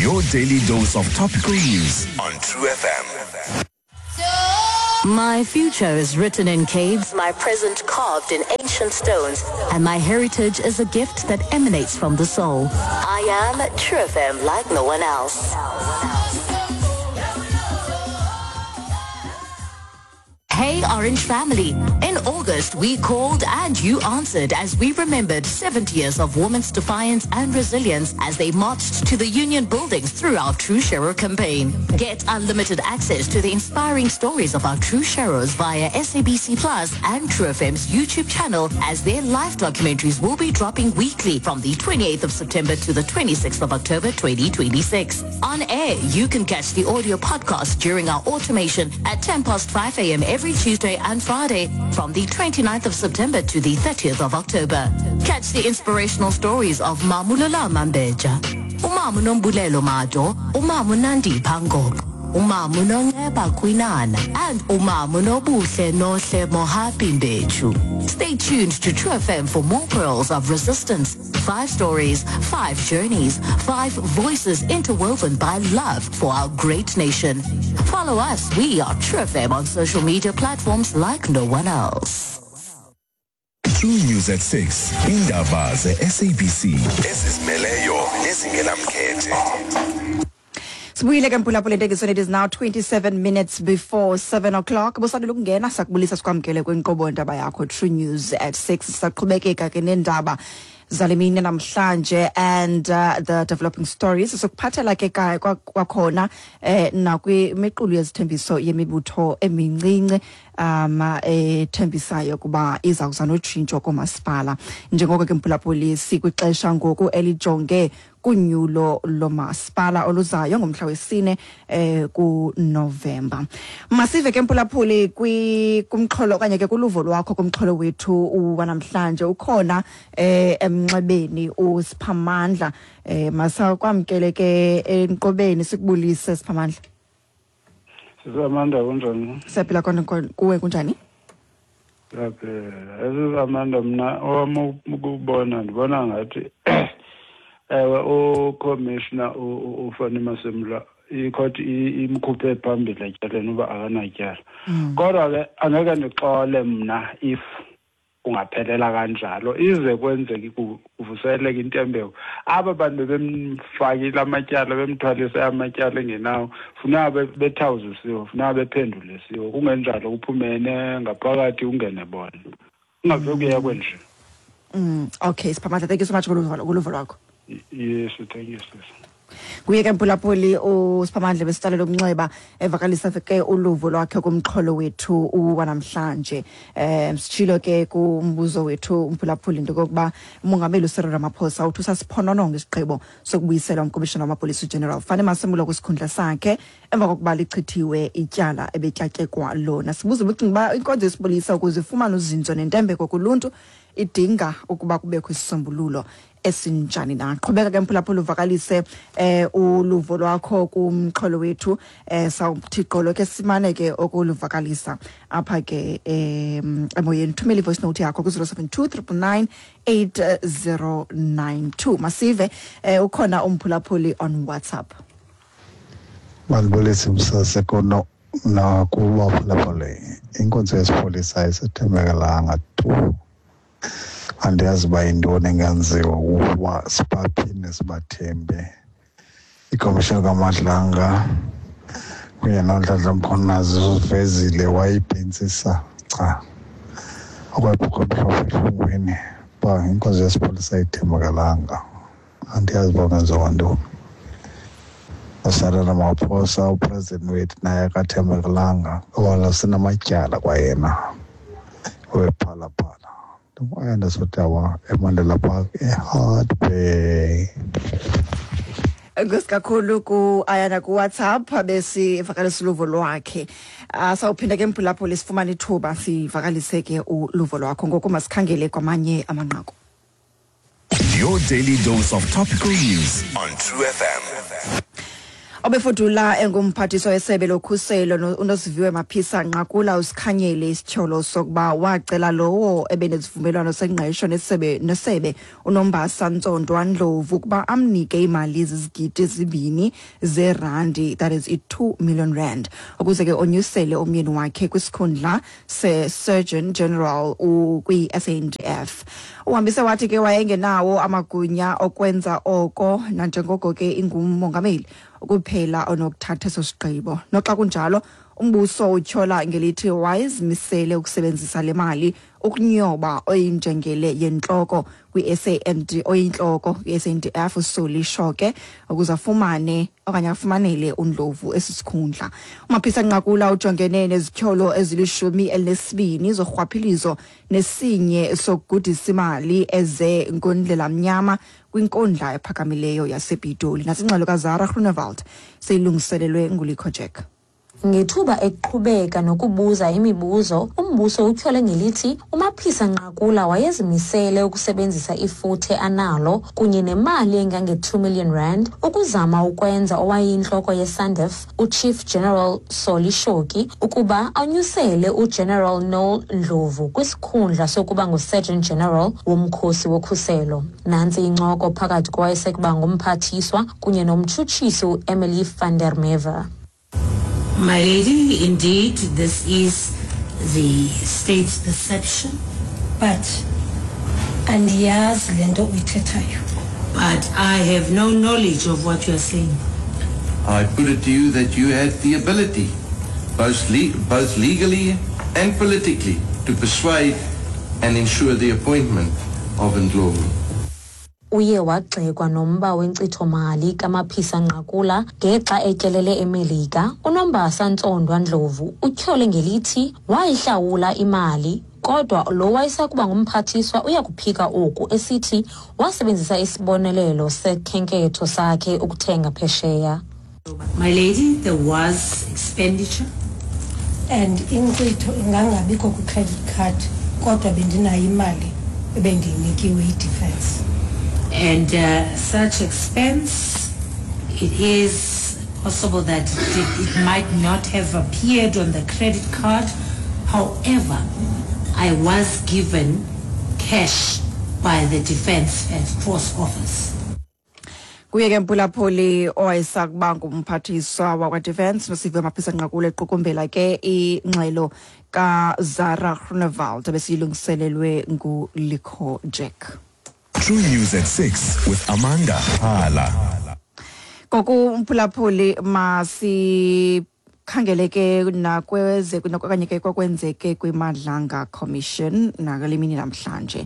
Your daily dose of topical news on True FM. My future is written in caves, my present carved in ancient stones, and my heritage is a gift that emanates from the soul. I am True FM like no one else. Hey Orange Family. In August, we called and you answered as we remembered 70 years of women's defiance and resilience as they marched to the union buildings through our True Sharer campaign. Get unlimited access to the inspiring stories of our True Sharers via SABC Plus and True FM's YouTube channel as their live documentaries will be dropping weekly from the 28th of September to the 26th of October 2026. On air, you can catch the audio podcast during our automation at 10 past 5 a.m. every Tuesday and Friday from the 29th of September to the 30th of October. Catch the inspirational stories of Mamulola Mambeja, Umamu Nombulelo Mado, Umamu Nandi Pangop, Umamu Nongeba Kwinana, and Umamu Nobuhle Nohle Mohapi Mbechu. Stay tuned to True FM for more pearls of resistance. Five stories, five journeys, five voices interwoven by love for our great nation. Follow us. We are True FM on social media platforms like no one else. True News at 6. Indaba ze-SABC ezizimeleyo nezingenamkhethe. Sibuyile ke mphulaphula entekisweni. It is now 27 minutes before 7 o'clock. Busandula ukungena, sakubulisa, sikwamkele kwinkqubo ndaba yakho True News at 6. Saqhubekeka ke nendaba zale mini namhlanje and the developing stories. Sokuphathela ke kwakhona nakwimiqulu yezithembiso yemibutho emincinci ethembisayo kuba iza kuza notshintsho koomasipala, njengoko ke mphulaphuli sikwixesha ngoku elijonge kunyulo lomasipala oluzayo ngomhla wesine kuNovemba. Masive ke mphulaphuli kumxholo okanye ke kuluvo lwakho kumxholo wethu wanamhlanje. Ukhona emnxebeni uSiphamandla. Masakwamkele ke enqobeni, sikubulise Siphamandla. Sisamanda, kunjani? Siyaphila kona, kuwe kunjani? Siyaphila. Esisamanda, mna owam ukubona, ndibona ngathi ewe, ucommissioner uFannie Masemola, ikhoti imkhuphe phambili etyaleni uba akanatyala. Kodwa ke angeke ndixole mna if kungaphelela kanjalo, ize kwenzeke kuvuseleke intembeko. Aba bantu bebemfakile amatyala, bemthwalise amatyala engenawo, funeka bethawuzisiwe, funeka bephendulisiwe. Kungenjalo kuphumene ngaphakathi, ungene bona, kungave kuyekwe nje. Okay Siphamandla, thank you so much kuluvo lwakho. Yes, thank you, sis. Kuye ke mphulaphuli uSiphamandla besitsalela umnxeba evakalisa ke uluvo lwakhe kumxholo wethu wanamhlanje. Sitshilo ke kumbuzo wethu umphulaphuli into kokuba umongameli uCyril Ramaphosa uthi usasiphonononga isigqibo sokubuyisela umkomishana wamapolisa uGeneral Fannie Masemola kwisikhundla sakhe emva kokuba lichithiwe ityala ebetyatyekwa lona. Sibuza ubucinga uba inkonzo yesipolisa ukuze ifumane uzinzo nentembeko kuluntu idinga ukuba kubekho isisombululo esinjani na. Qhubeka ke mphulaphula uvakalise uluvo lwakho kumxholo wethu. Sawuthi gqolo ke simane ke okuluvakalisa apha ke emoyeni. Thumela i-voice note yakho ku-072 999 8092. Masive ukhona umphulaphuli on WhatsApp. Mandibulise msase kono nakubaphulaphuli. Inkonzo yesipolisa ayisethembekelanga tu. Andiyazi uba yintoni engenziwa ukuba sibaphinde sibathembe. Ikomishoni kaMadlanga kunye noNhlanhla Mkhwanazi uvezile, wayibhentsisa cha okwebhukho emhlophe ehlungwini uba inkonzo yesipolisa ayithembakalanga. Andiyazi uba kungenziwa ntoni. UCyril Ramaphosa, upresident wethu, naye akathembekelanga ngoba sinamatyala kwayena wephalaphala. Ayanda Sotawa eMandela Park eHart Bay. Enkosi kakhulu ku Ayanda ku WhatsApp besivakalisa uluvo lwakhe. Sawuphinda ke mphulaphuli sifumane ithuba sivakalise ke uluvo lwakho. Ngoku masikhangele kwamanye amanqaku. Your daily dose of topical news on True FM. Obefudula engumphathiswa wesebe lokhuselo uNosiviwe Maphisa Nqakula usikhanyele isityholo sokuba wacela lowo ebenesivumelwano sengqesho nesebe uNombasa Ntsondwa Ndlovu ukuba amnike imali ezizigidi 2 zeerandi, that is i-2 million rand, ukuze ke onyusele umyeni wakhe kwisikhundla se-Surgeon General kwi-SANDF. Uhambise wathi ke wayengenawo amagunya okwenza oko, nanjengoko ke ingumongameli kuphela onokuthatha eso sigqibo. Noxa kunjalo, umbuso utyhola ngelithi wayezimisele ukusebenzisa le mali ukunyoba oyinjengele yentloko kwi-SAND oyintloko kwi-SANDF uSolly Shoke ukuze afumane okanye afumanele uNdlovu esi sikhundla. UMaphisa Nqakula ujongene nezityholo ezili-12 zorhwaphilizo nesinye sokugudisa imali eze ngondlela mnyama kwinkundla ephakamileyo yasePitoli. Nasingxelo kaZara Groenewald seyilungiselelwe nguLikho Jack. Ngethuba eqhubeka nokubuza imibuzo, umbuso utyhole ngelithi uMaphisa Nqakula wayezimisele ukusebenzisa ifuthe analo kunye nemali engange-2 million rand ukuzama ukwenza owayeyintloko yeSANDF uChief General Solly Shoki ukuba anyusele uGeneral Noel Ndlovu kwisikhundla sokuba nguSurgeon General womkhosi wokhuselo. Nantsi incoko phakathi kowayesekuba ngumphathiswa kunye nomtshutshisi uEmily van der Merwe. My lady, indeed, this is the state's perception. But andiyazi le nto uyithethayo. But I have no knowledge of what you are saying. I put it to you that you had the ability, both legally and politically, to persuade and ensure the appointment of Ndlovu. Uye wagxekwa nomba wenkcitho-mali kaMaphisa Nqakula ngexa etyelele eMelika. UNombasa Ntsondwa Ndlovu utyhole ngelithi wayihlawula imali, kodwa lo wayesakuba ngumphathiswa uyakuphika oku, esithi wasebenzisa isibonelelo sekhenketho sakhe ukuthenga phesheya. My lady, there was expenditure. And inkcitho ingangabikho kwi-credit card, kodwa bendinayo imali ebendiyinikiwe yi-defense. And such expense, it is possible that it might not have appeared on the credit card. However, I was given cash by the Defense Force Office. Kuye ke mphulaphuli owayesakuba ngumphathiswa wakwa-Defense Nosiviwe Maphisa Nqakula equkumbela ke ingxelo kaZara Groenewald ebesiyilungiselelwe nguLikho Jack. True News at 6 with Amanda Hala. Ngoku mphulaphuli masikhangele ke nakweze okanye ke kwakwenzeke kwiMadlanga Commission nakule mini namhlanje.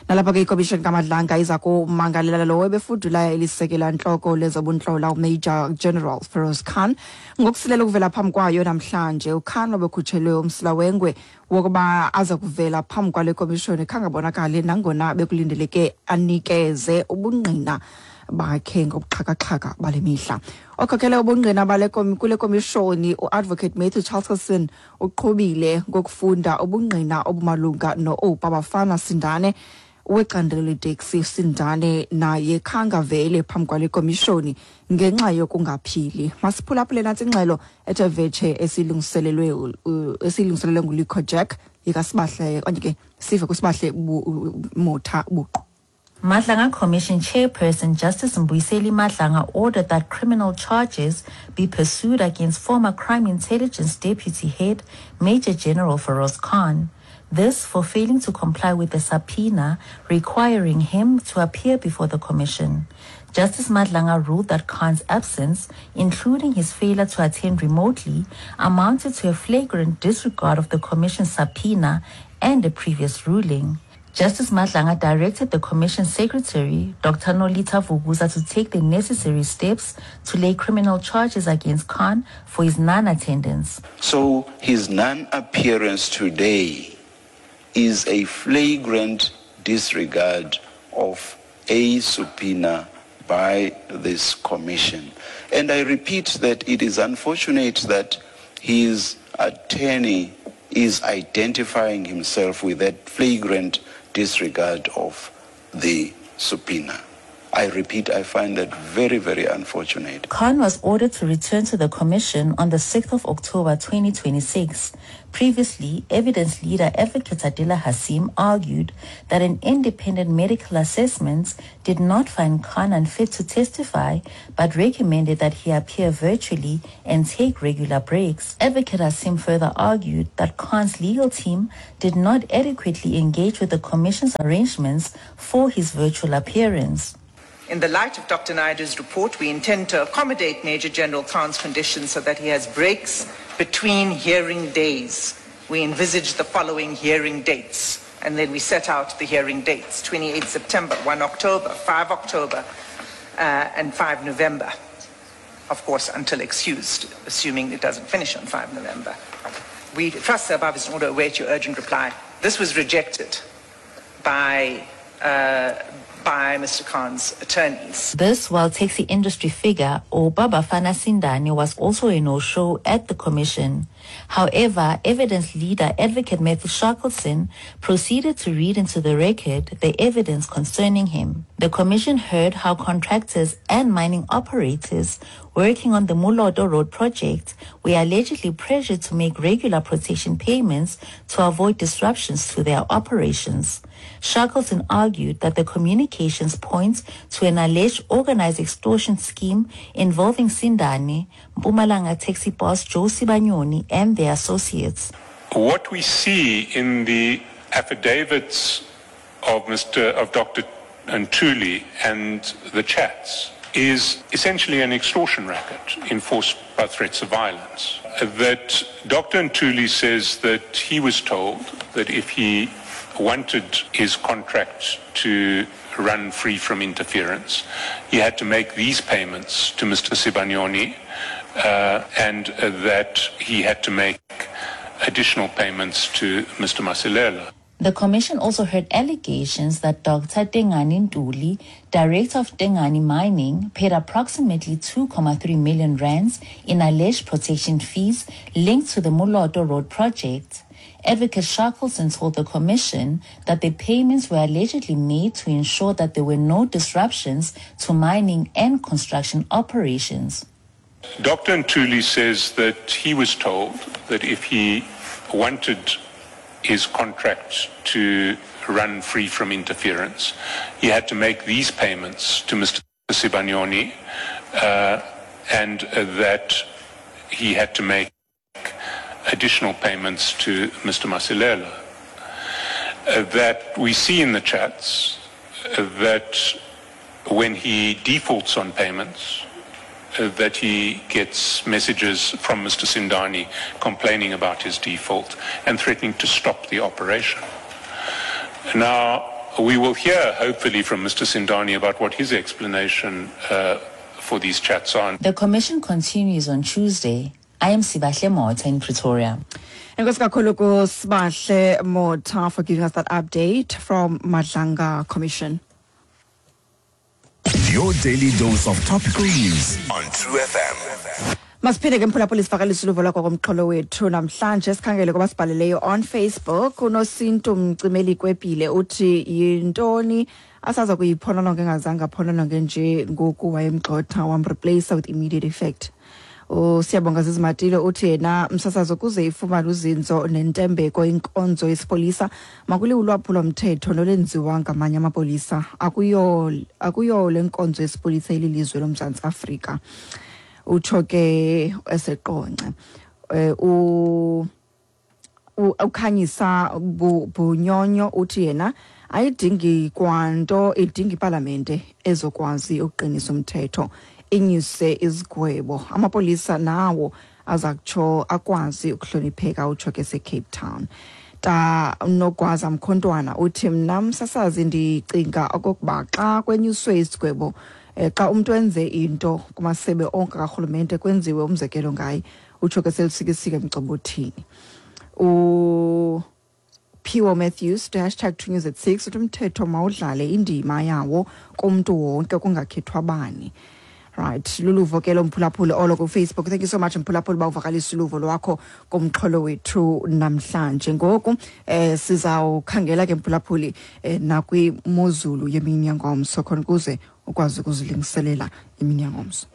Nalapha ke ikomishoni kaMadlanga iza kumangalela lowo ebefudula elisekela ntloko lezobuntlola uMajor General Feroz Khan ngokusilela ukuvela phambi kwayo namhlanje. uKhan obekhutshelwe umsila wengwe wokuba aza kuvela phambi kwale komishoni khangabonakali nangona bekulindeleke anikeze ubungqina bakhe ngobuxhakaxhaka bale mihla. Okhokhele ubungqina bale kule komishoni uAdvocate Matthew Charleson uqhubile ngokufunda ubungqina obumalunga no-Oupa Bafana Sindane wecandelo leteksi. Sindane naye khangavele phambi kwale komishoni ngenxa yokungaphili. Masiphulaphule nantsi ingxelo ethe vetshe esilungiselelwe nguLikho Jack yikaSibahle okanye ke sive kuSibahle Motha buqu. Madlanga Commission Chairperson Justice Mbuyiseli Madlanga ordered that criminal charges be pursued against former Crime Intelligence Deputy Head Major General Feroz Khan. This for failing to comply with the subpoena requiring him to appear before the commission. Justice Madlanga ruled that Khan's absence, including his failure to attend remotely, amounted to a flagrant disregard of the commission's subpoena and a previous ruling. Justice Madlanga directed the Commission Secretary, Dr. Nolita Vuguza, to take the necessary steps to lay criminal charges against Khan for his non-attendance. So his non-appearance today is a flagrant disregard of a subpoena by this commission. And I repeat that it is unfortunate that his attorney is identifying himself with that flagrant disregard of the subpoena. I repeat, I find that very, very unfortunate. Khan was ordered to return to the commission on the 6th of October 2026. Previously, evidence leader Advocate Adila Hassim argued that an independent medical assessment did not find Khan unfit to testify, but recommended that he appear virtually and take regular breaks. Advocate Hassim further argued that Khan's legal team did not adequately engage with the commission's arrangements for his virtual appearance. In the light of Dr. Naidu's report, we intend to accommodate Major General Khan's condition so that he has breaks between hearing days. We envisage the following hearing dates, and then we set out the hearing dates: 28 September, 1 October, 5 October, and 5 November. Of course, until excused, assuming it doesn't finish on 5 November. We trust the above is in order to await your urgent reply. This was rejected by Mr. Khan's attorneys. This while taxi industry figure Obabafana Sindane was also a no-show at the commission. However, evidence leader Advocate Matthew Shackleton proceeded to read into the record the evidence concerning him. The commission heard how contractors and mining operators working on the Moloto Road project were allegedly pressured to make regular protection payments to avoid disruptions to their operations. Shackleton argued that the communications point to an alleged organized extortion scheme involving Sindane, Mpumalanga taxi boss Joe Sibanyoni, and their associates. What we see in the affidavits of Dr. Ntuli and the chats is essentially an extortion racket enforced by threats of violence. That Dr. Ntuli says that he was told that if he wanted his contract to run free from interference, he had to make these payments to Mr. Sibanyoni, and that he had to make additional payments to Mr. Masilela. The commission also heard allegations that Dr. Tengani Ntuli, director of Tengani Mining, paid approximately 2.3 million rands in alleged protection fees linked to the Moloto Road project. Advocate Shackleton told the commission that the payments were allegedly made to ensure that there were no disruptions to mining and construction operations. Dr. Ntuli says that he was told that if he wanted his contract to run free from interference, he had to make these payments to Mr. Sibanyoni, and that he had to make additional payments to Mr. Masilela. That we see in the chats that when he defaults on payments, that he gets messages from Mr. Sindane complaining about his default and threatening to stop the operation. Now, we will hear, hopefully, from Mr. Sindane about what his explanation for these chats are. The commission continues on Tuesday. I am Sibahle Motha in Pretoria. Enkosi kakhulu kuSibahle Motha for giving us that update from Madlanga Commission. Your daily dose of topical news on True FM. Masiphinde ke mphulaphuli sivakalise uluvo lwakho komxholo wethu namhlanje. Sikhangele kwabasibhaleleyo on Facebook. UNosintu Mcimeli Kwepile uthi yintoni asaza kuyiphonononge engazange aphonononge nje ngoku wayemgxotha wamreplace with immediate effect. USiyabonga Zizimatile uthi yena msasazo kuze ifumane uzinzo nentembeko inkonzo yesipolisa makuliwe ulwaphulo-mthetho nolwenziwa ngamanye amapolisa akuyo le nkonzo yesipolisa elilizwe loMzantsi Afrika. Utsho ke eseqonce. Ukhanyisa Bunyonyo uthi yena ayidingi kwanto, idinga ipalamente ezokwazi ukuqinisa umthetho, inyuse izigwebo, amapolisa nawo aza kutsho akwazi ukuhlonipheka. Utsho ke seCape Town. Ta Nogwaza Mkhontwana uthi mna msasazi ndicinga okokuba xa kwenyuswe isigwebo, xa umntu enze into kumasebe onke karhulumente kwenziwe umzekelo ngaye. Utsho ke selusikisike emgcobothini. Phiwo Matthews to hashtag 2 News at 6 uthi umthetho mawudlale indima yawo kumntu wonke kungakhethwa bani. Right, luluvo ke lo, mphulaphuli, olo kuFacebook. Thank you so much, mphulaphuli, uba uvakalisa uluvo lwakho kumxholo wethu namhlanje. Ngoku sizawukhangela ke, mphulaphuli, nakwimozulu yemini yangomso, khona ukuze ukwazi ukuzilungiselela imini yangomso.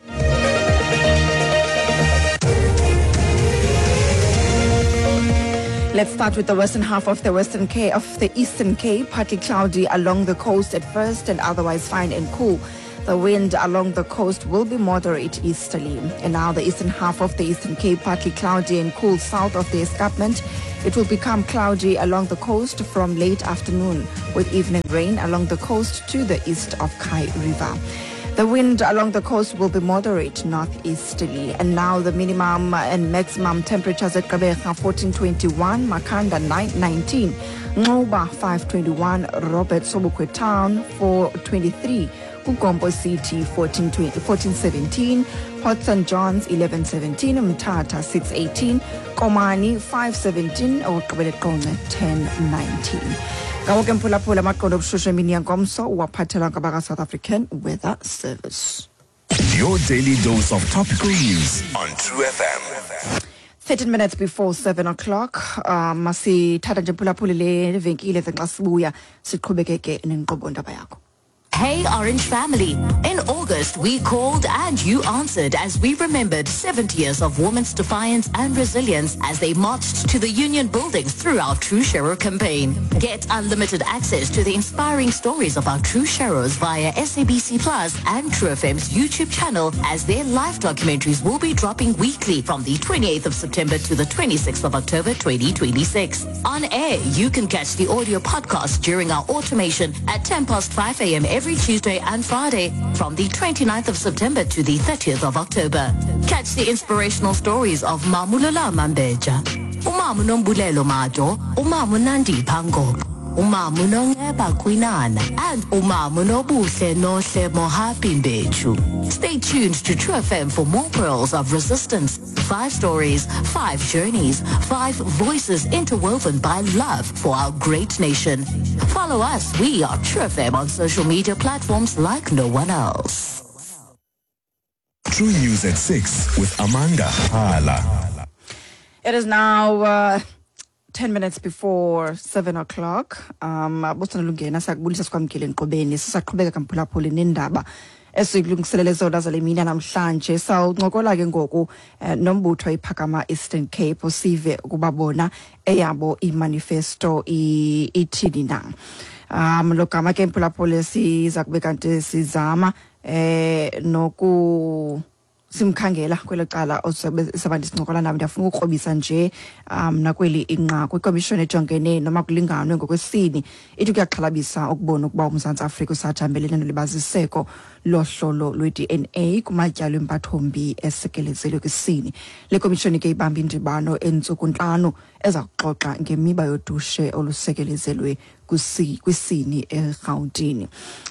Let's start with the western half of the Western Cape, of the Eastern Cape, partly cloudy along the coast at first and otherwise fine and cool. The wind along the coast will be moderate easterly. And now the eastern half of the Eastern Cape, partly cloudy and cool south of the escarpment. It will become cloudy along the coast from late afternoon, with evening rain along the coast to the east of Kei River. The wind along the coast will be moderate northeasterly. And now the minimum and maximum temperatures at Gqeberha 1421, Makhanda 919, Nxuba 521, Robert Sobukwe Town 423, KuGompo City 1417, Port St. John's 1117, Mthatha 618, Komani 517, okugqibela eQonce 1019. Ngawo ke, mphulaphula, amaqondo obushushu emini yangomso uwaphathelwa ngabaka-South African Weather Service. Your daily dose of topical news on True FM. 13 minutes before 7 o'clock. Masithatha nje, mphulaphuli, le venkile, ze xa sibuya siqhubekeke nenkqubo ndaba yakho. Hey Orange family. In August, we called and you answered as we remembered 70 years of women's defiance and resilience as they marched to the union buildings through our True Sharer campaign. Get unlimited access to the inspiring stories of our True Sharers via SABC Plus and True FM's YouTube channel, as their live documentaries will be dropping weekly from the 28th of September to the 26th of October 2026. On air, you can catch the audio podcast during our automation at 10 past 5 a.m. every Tuesday and Friday from the 29th of September to the 30th of October. Catch the inspirational stories of Mamulala Mambeja, Umamu Nombulelo Mado, Umamu Nandi Pango, Umamu Nongeba Kwinana, and Umamu Nobuhle Nohle Mohapi Mbechu. Stay tuned to True FM for more pearls of resistance. Five stories, five journeys, five voices interwoven by love for our great nation. Follow us. We are True FM on social media platforms like no one else. True News at 6 with Amanda Hala. It is now 10 minutes before 7 o'clock. Bosana siyakubulisa, sikwamkele enkqubeni. Sisaqhubeka, kamphulaphuli, nendaba esikulungiselele zona zale mini namhlanje. Sawuncokola ke ngoku nombutho iPhakama Eastern Cape, sive ukuba bona eyabo imanifesto ithini na. Lo gama ke, mphulaphuli, siza kube kanti sizama noku simkhangela kwelo cala sabantu sincokola nabo. Ndiyafuna ukukrobisa nje nakweli inqaku. Ikomishoni ejongene noma kulinganwe ngokwesini ithi kuyaxhalabisa ukubona ukuba uMzantsi Afrika usajambelene nolibaziseko lohlolo lwe-DNA kumatyalo empathombi esekelezelwe kwisini. Le komishoni ke ibamba indibano entsuku 5 eza kuxoxa ngemiba yodushe olusekelezelwe kwisini eRhawutini.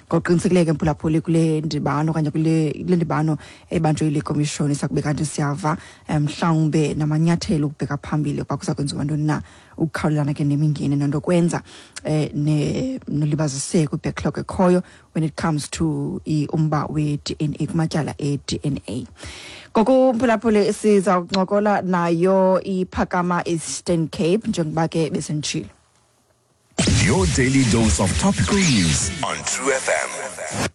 Ngokuqinisekileyo ke, mphulaphuli, kule ndibano okanye kule ndibano ebanjwe yile komishoni sakube kanti siyava mhlawumbe namanyathelo ukubheka phambili ukuba kuza kwenziwa ntoni na ukukhawulelana ke nemingeni nento kwenza nolibaziseko, i-backlog ekhoyo when it comes to umba we-DNA kumatyala e-DNA. Ngoku, mphulaphuli, siza kuncokola nayo iPhakama Eastern Cape njengoba ke besenditshilo. Your daily dose of topical news on True FM.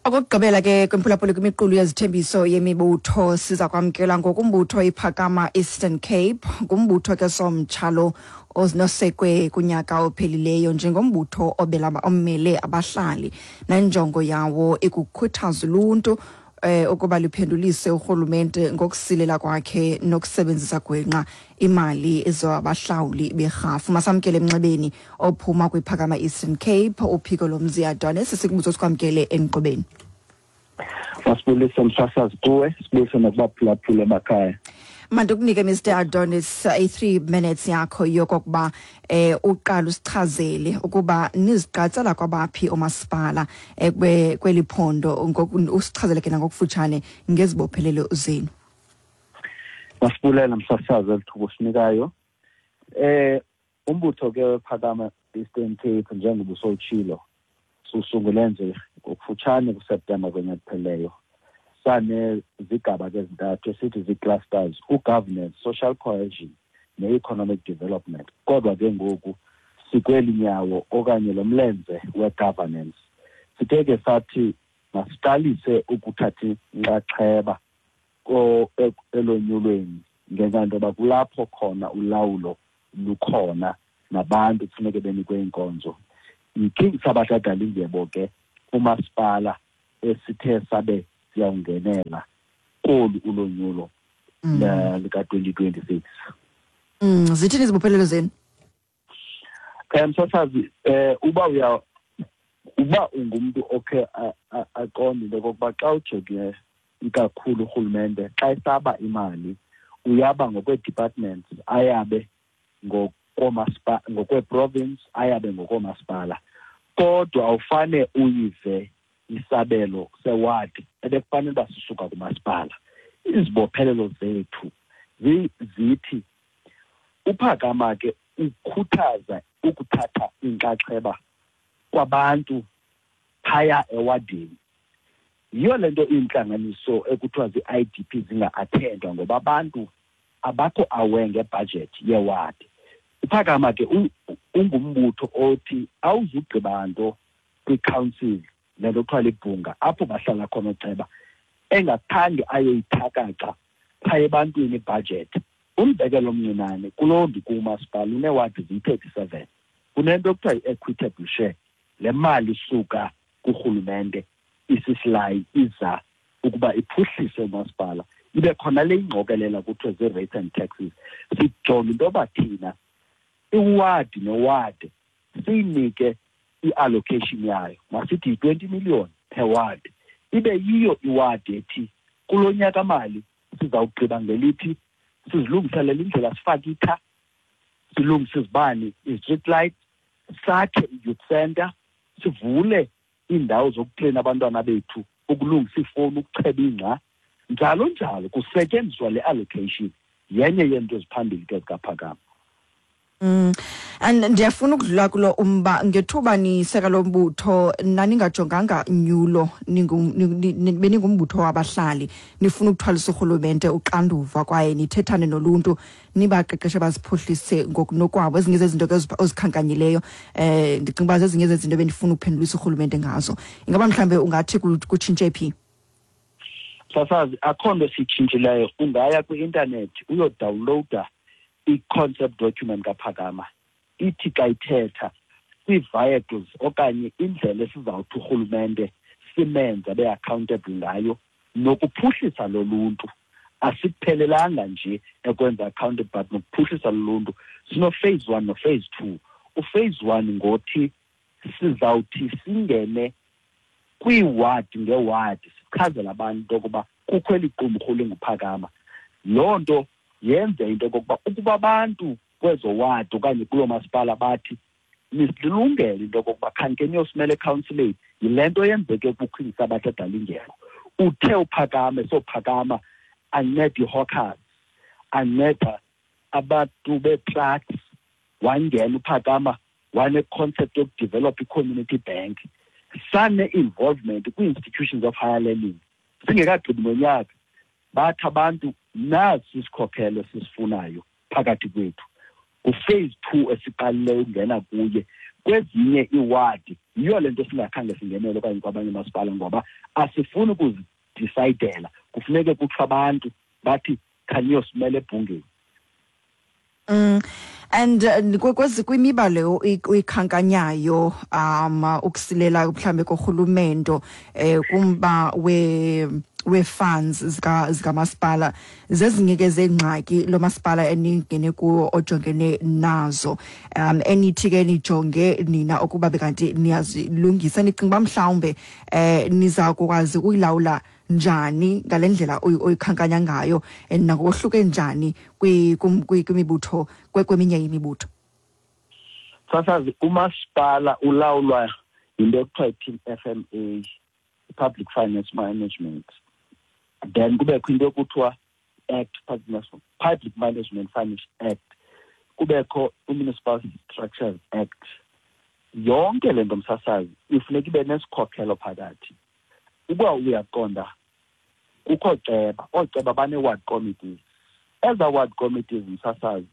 Okokugqibela ke kwimphulaphuli kwimiqulu yezithembiso yemibutho, siza kwamkela ngokumbutho iPhakama Eastern Cape. Ngumbutho ke somtsha lo onosekwe kunyaka ophelileyo njengombutho ommele abahlali, nenjongo yawo ikukhuthaza uluntu ukuba liphendulise urhulumente ngokusilela kwakhe nokusebenzisa gwenxa imali ezabahlawuli berhafu. Masamkele emnxebeni ophuma kwiPhakama Eastern Cape, uphiko lomzi Adonis. Sikubuzo, sikwamkele enkqubeni. Masibulise, msasazi, kuwe, sibulise nakubaphulaphula emakhaya. Mandikunike, Mr Adonis, i-3 minutes yakho yokokuba uqala usichazele ukuba niziqatsela kwabaphi omasipala kweli phondo, usichazele ke nangokufutshane ngezibophelelo zenu. Masibulela msasazi elithuba usinikayo. Umbutho ke wePhakama Eastern Cape, njengoba usowutshilo, susungule nje ngokufutshane kuSeptemba konyaka kupheleyo. Sanezigaba ke ezintathu esithi zii-clusters: u-governance, social cohesion ne-economic development. Kodwa ke ngoku sikweli nyawo okanye lo mlenze we-governance. Sithe ke sathi masiqalise ukuthatha inxaxheba elonyulweni, ngenxa yento yoba kulapho khona ulawulo lukhona nabantu kufuneke benikwe iinkonzo. YiKing Sabatha Dalindyebo ke umasipala esithe sabe siyawungenela kolu ulonyulo lika-2026. Zithini izibophelelo zenu? Msasazi, uba ungumntu okhe aqonde into yokokuba xa ujonge ikakhulu urhulumente xa esaba imali uyaba ngokwee-departments, ayabe ngokwee-province, ayabe ngokoomasipala, kodwa awufane uyive isabelo sewadi ebekufanele uba sisuka kumasipala. Izibophelelo zethu zithi uPhakama ke ukhuthaza ukuthatha inxaxheba kwabantu phaya ewadini. Yiyo le nto iintlanganiso ekuthiwa zii-IDP zinga-athendwa, ngoba abantu abakho aware ngebhajethi yewadi. UPhakama ke ungumbutho othi awuzugqiba nto kwicouncil, le nto kuthiwa libhunga apho bahlala khona ooceba, engakhange ayoyithakaxa phaya ebantwini ibhajethi. Umzekelo omncinane, kuloo ndikumasipala uneewadi ziyi-37, kunento ekuthiwa yi-equitable share. Le mali isuka kurhulumente isisilayi iza ukuba iphuhlise umasipala, ibe khona le ingqokelela kuthiwe zii-rates and taxes. Sijonge into yoba thina iwadi newadi siyinike i-allocation yayo, masithi yi-20 million per ward, ibe yiyo iwadi ethi kulo nyaka mali sizawugqiba ngelithi sizilungiselele indlela, sifake itha, silungise izibane, i-street light, sakhe i-youth center, sivule iindawo zokutreyina abantwana bethu, ukulungisa iifowuni, ukucheba ingca, njalo njalo, kusetyenziswa le allocation. Yenye yeento eziphambili ke zikaPhakama. And ndiyafuna ukudlula kulo umba. Ngethuba niseka lo mbutho naningajonganga nyulo, beningumbutho wabahlali, nifuna ukuthwalisa urhulumente uxanduva kwaye nithethane noluntu, nibaqeqeshe baziphuhlise ngokunokwabo. Ezinye zezinto ke ozikhankanyileyo, ndicinga uba zezinye zezinto bendifuna ukuphendulisa urhulumente ngazo. Ingaba mhlawumbe ungathi kutshintshe phi? Sasazi, akho nto siyitshintshileyo. Ungaya kwi-intanethi uyodawunlowuda i-concept document kaPhakama. Ithi xa ithetha kwii-vehicles okanye indlela esizawuthi urhulumente simenze abe-accountable ngayo nokuphuhlisa loluntu. Asiphelelanga nje ekwenza accountable, but nokuphuhlisa loluntu. Sino-phase 1 no-phase 2. U-phase 1 ngothi sizawuthi singene kwiiwadi ngeewadi, sichazele abantu into yokuba kukho eli qumrhu linguPhakama. Loo nto yenze into yokokuba ukuba abantu kwezo wadi okanye kuloo masipala bathi nisilungele into yokokuba khanike niyosimela ekhawunsileni. Yile nto yenzeke kuQueen Sabatha Dalindyebo. Uthe uPhakame sophakama anceda ii-hawkers, anceda abantu bee-trucks, wangena uPhakama wane-concept yokudevelopha i-community bank. Sane-involvement kwii-institutions of higher learning. Singekagqibi nonyaka bathi abantu nasi isikhokhelo esisifunayo phakathi kwethu. Ku-phase 2 esiqalileyo ukungena kuye kwezinye iiwadi. Yiyo le nto singakhange singenele okanye kwabanye umasipala, ngoba asifuni ukuzidisayidela. Kufuneke kuthiwe abantu bathi khaniyosimela ebhungeni. And kwezi kwimiba leyo uyikhankanyayo, ukusilela mhlambe korhulumento, kumba we-funds zikamasipala, zezinye ke zeengxaki lo masipala eningene kuwo ojongene nazo, enithi ke nijonge nina ukuba bekanti niyazilungisa. Nicinga uba mhlawumbe niza kukwazi ukuyilawula njani ngale ndlela oyikhankanya ngayo, nangokohluke njani kwimibutho, kweminye imibutho? Sasazi, umasipala ulawulwa yinto ekuthiwa yi-PFMA, Public Finance Management. Then kubekho into ekuthiwa Act, Public Management Finance Act, kubekho i-Municipal Structures Act. Yonke le nto, msasazi, ifuneka ibe nesikhokhelo phakathi. Uba uyaqonda, kukho ceba, ooceba bane-ward committees. Eza ward committees, msasazi,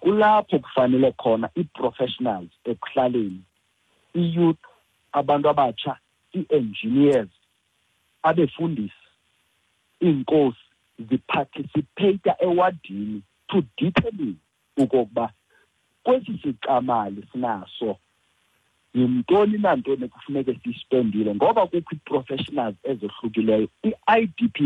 kulapho kufanele khona ii-professionals ekuhlaleni, i-youth, abantu abatsha, ii-engineers, abefundisi, iinkosi, ziparticipate ewadini to determine okokuba kwesi sicamali sinaso yintoni nantoni ekufuneke siyispendile, ngoba kukho ii-professionals ezohlukileyo, i-IDP.